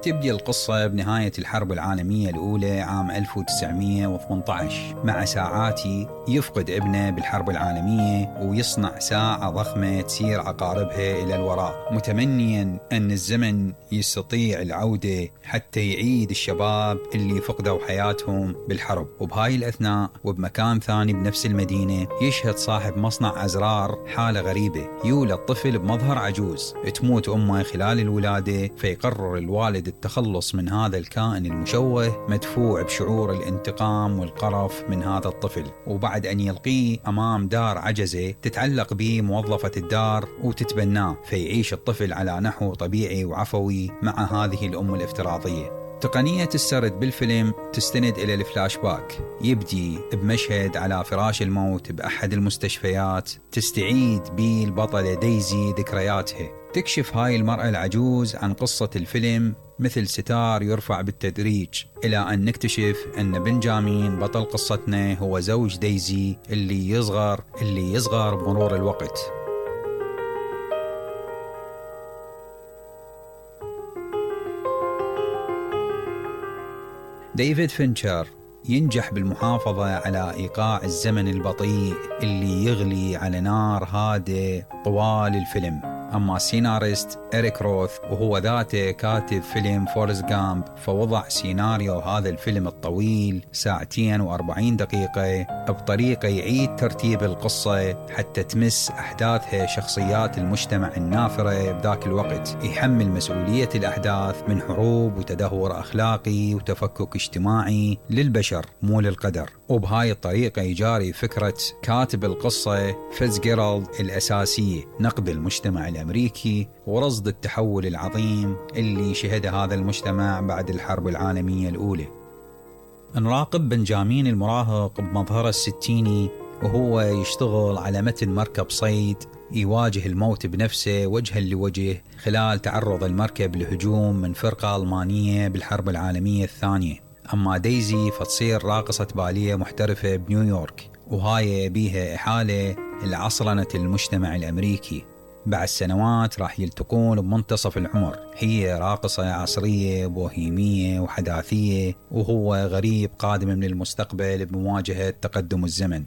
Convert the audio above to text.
تبدي القصة بنهاية الحرب العالمية الأولى عام 1918 مع ساعاتي يفقد ابنه بالحرب العالمية ويصنع ساعة ضخمة تسير عقاربها إلى الوراء، متمنيا أن الزمن يستطيع العودة حتى يعيد الشباب اللي فقدوا حياتهم بالحرب. وبهاي الأثناء وبمكان ثاني بنفس المدينة يشهد صاحب مصنع أزرار حالة غريبة، يولد طفل بمظهر عجوز، تموت أمه خلال الولادة، فيقرر الوالد التخلص من هذا الكائن المشوه مدفوع بشعور الانتقام والقرف من هذا الطفل. وبعد أن يلقيه أمام دار عجزة تتعلق به موظفة الدار وتتبناه، فيعيش الطفل على نحو طبيعي وعفوي مع هذه الأم الافتراضية. تقنية السرد بالفيلم تستند إلى الفلاش باك، يبدي بمشهد على فراش الموت بأحد المستشفيات تستعيد به البطلة دايزي ذكرياتها. تكشف هاي المرأة العجوز عن قصة الفيلم مثل ستار يرفع بالتدريج، إلى أن نكتشف أن بنجامين بطل قصتنا هو زوج دايزي اللي يصغر بمرور الوقت. ديفيد فينشر ينجح بالمحافظة على إيقاع الزمن البطيء اللي يغلي على نار هادئ طوال الفيلم. أما السيناريست إريك روث وهو ذاته كاتب فيلم فورست غامب، فوضع سيناريو هذا الفيلم الطويل 2 و40 دقيقة بطريقة يعيد ترتيب القصة حتى تمس أحداثها شخصيات المجتمع النافرة بذاك الوقت، يحمل مسؤولية الأحداث من حروب وتدهور أخلاقي وتفكك اجتماعي للبشر مو للقدر. وبهاي الطريقة يجاري فكرة كاتب القصة فيتزجيرالد الأساسية، نقد المجتمع الأمريكي ورصد التحول العظيم اللي شهد هذا المجتمع بعد الحرب العالمية الأولى. نراقب بنجامين المراهق بمظهره الستيني وهو يشتغل على متن مركب صيد يواجه الموت بنفسه وجها لوجه خلال تعرض المركب لهجوم من فرقة ألمانية بالحرب العالمية الثانية. أما دايزي فتصير راقصة بالية محترفة بنيويورك، وهاي بيها إحالة لعصرنة المجتمع الأمريكي. بعد سنوات راح يلتقون بمنتصف العمر، هي راقصة عصرية بوهيمية وحداثية، وهو غريب قادم من المستقبل بمواجهة تقدم الزمن.